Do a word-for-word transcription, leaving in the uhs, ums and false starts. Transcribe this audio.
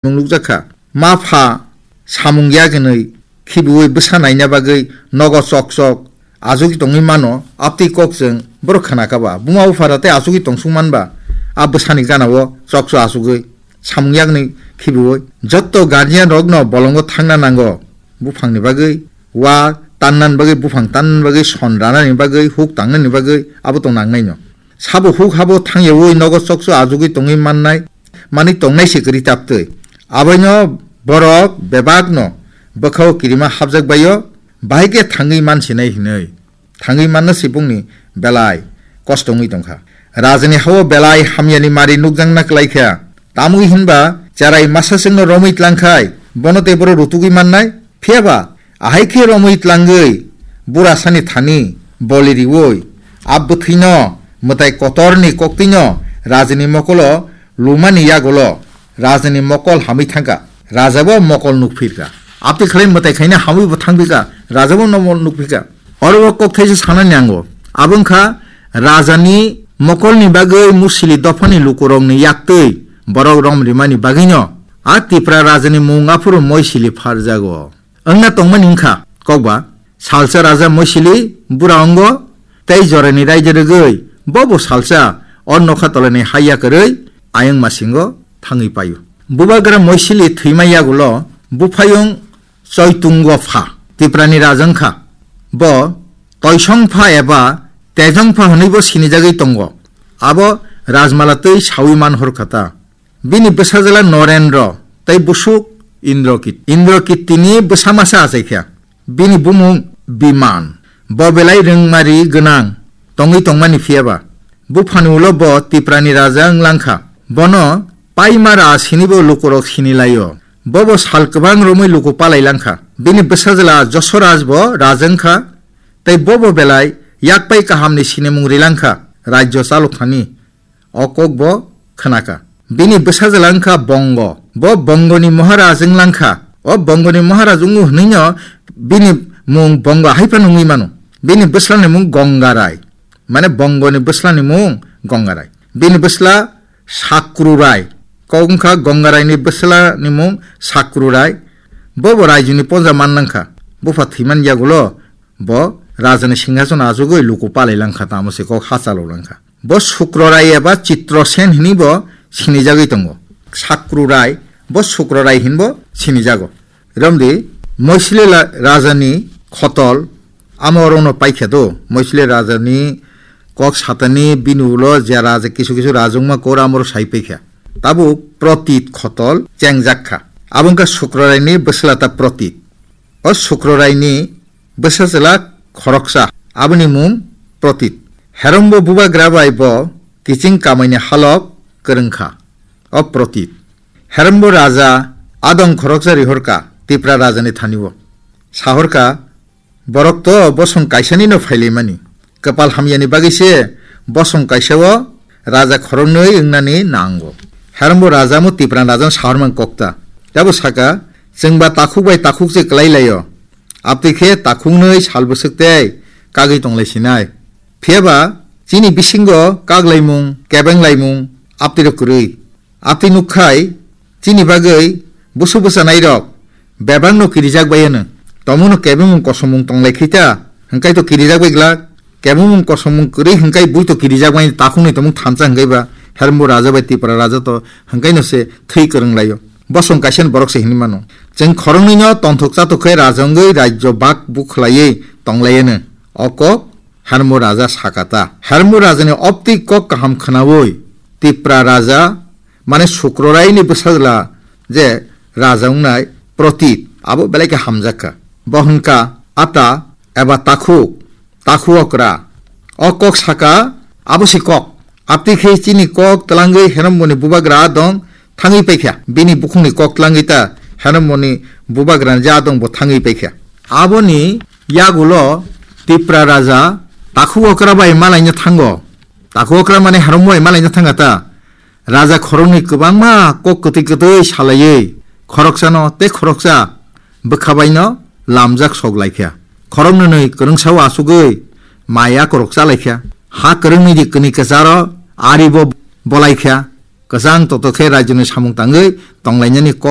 Mung nukjakha. Ma pha samung yak hinwi khibiwi bwsa naina bagwi nogo chok chok achugwi tongwi mano, abtwi kok chwng borok khna kha ba. Buma bupha da tei achugwi tongsuk man ba, a bwsani gana o chok chok achugwi samung yakni khibiwi. Jotto guardian rokno bolongo thangna nango, buphangni bagwi wa tannani bagwi, buphang tannani bagwi, son ranani bagwi, huk tangnani bagwi abo tong nangnaino. Sabo huk habo thangyawi nogo chokso achugwi tongwi mannai, manwi tongnai se kwrwi tabtwi. Aboino borok bebakno bwkhao kirima hapjak baio, bahai khe thangwi mansinai hinwi. Thangwi manna se bongni belai kosto wngwi tongkha. Rajani hao belai hamyani mari nukjakna kwlaikha. Tamwi hinba cherai masa chwngno romwi tlangkhai, bono tei boro rutugwi mannai. Phiyaba, ahai khe romwi tlangwi, burasani thani boli riwi, a bwthwino mwtai kotorni koktwino rajani mokolo lumani yagulo rajani mokol hamwi thangkha. Rajabo mokol nukphirkha. Abtwi khlai mwtai khaina hamwibo thangphikha. Rajabo mokol nukphikha. Oro o kok thaisa sanani nango. Abo wngkha rajani mokolni bagwi musili dophani lukurokni yaktwi borok rom rimani bagwino a Tipra rajani mung aphuru Moisili pharjago. Wngna tongmani wngkha kokba, salsa raja Moisili bura ongo tei jorani raida rwgwi bobo salsa o nokha tolani hai yakarwi ayang masingo thangwi paio. Bubagra Moisili thwima yagulo buphayung Choitungo pha, Tiprani raja wngkha. Bo Toisong pha eba Tejong pha hwnwibo sinijagwi tongo. Abo Rajmala twi saui man horkha ta. Bini bwsajwla Norendro tei busuk Indrokit-, Indrokitini bwsa masa achaikha. Bini bumung Biman. Bo belai rwngmari gwnang tongwi tongmani phiyaba. Buphani ulo bo Tiprani raja wng langkha. Bono Paimara sinibo lukurok sini laio. Bobo sal kwbang romwi luku palai langkha. Bini bwsajwla Josoraj bo raja wngkha, tei bobo belai yakpai kahamni sinimung ri langkha, rajyo chalok thani. O kok bo khna kha. Bini bwsajwla wngkha Bongo. Bo Bongoni Maharaj wng lang kha. O Bongoni Maharaj wngo hwnwino bini mung Bongo hai phano wngwi mano. Bini bwslani mung Gongarai. Mane Bongoni bwslani mung Gongarai. Bini bwsla Sakrurai. Kok wngkha Gongaraini bwslani mung Sakrurai. Bo bo raijoni ponja man nang kha. Bupha thwiman yagulo bo rajani singhasono achugwi luku palai lang kha, tamo se kok ha chalo lang kha. Bo Sukrorai eba Chitrosen hinwi bo sinijagwi tongo. Sakrurai, bo Sukrorai hinwi bo sinijago. Romdi, Moisili la-, rajani khotol, amo orono paikha do. Moisili rajani kok satani bini ulo je raja kisu kisu rajwngma kor amoro sai paikha. Tabuk Protit khotol chengjak kha. Abo wngkha Sukroraini bwsla ta Protit. O Sukroraini bwsajwla khoroksa, aboni mung Protit. Herombo bubagra bai bo kiching kamaini halok kwrwng kha, o Protit. Herombo raja adong khoroksa rihorka Tipra rajani thani-o. Sahorka, "Borok to bosong kaisanino phailaimani. Kwpal hamyani bagwi se bosong kaisa-o raja khoroknwi wngnani nango." Herombo raja mo Tipra rajano sahormang kokta. Tabo saka, "Chwngba takhuk bai takhuk se kwlai laio. Abtwi khe takhuknwi sal bwswk tei kagwi tonglai sinai. Phiyaba chini bisingo kaglaimung, kebenglaimung abtwirok kwrwi. Abtwi nukkhai chini bagwi busu bwchanairok bebakno kirijak bai hwno. Tomungno kebengmung kosomung tonglai khita, hwnkhe to kirijak bai glak. Kebengmung kosomung kwrwi hwnkhe bui to kirijak bai takhukni tomung thansa hwnkhe ba Herombo raja bai Tipra raja to hwnkhe no se thwi kwrwng laio. Bosong kaisa ni borok se hinwi mano. Chwng khoroknwino tonthok chatok khe raja wngwi rajyo bak bukhlaiwi tonglai hwno." O kok Herombo raja sakata. Herombo rajani optwi kok kaham khwnawi Tipra raja, mane Sukroraini bwsajwla je raja wngnai Protit, abo belai khe hamjak kha. Bo hwn kha, "Ata eba takhuk, takhu okra." O kok saka, abo se kok. Abtwi khe chini kok twlangwi Heromboni bubagra dong thangwi paikha. Bini bukhukni kok twlangwi ta Heromboni bubagrani ja dong bo thangwi paikha. Aboni yagulo Tipra raja takhu okra bai malaina thango. Takhu okra mane Herombo bai malaina thanga ta. Raja khoroknwi kwbangma kok kwtwi kwtwi salaiwi khoroksano tei khoroksa bwkha baino lamjak sok laikha. Khoroknwi kwrwngsao achugwi mai akorok chalaikha. Ha kwrwngni di kwnwi kwcharo aribo bolaikha. kwchang toto khe rajyoni samung tangwi tonglainani kok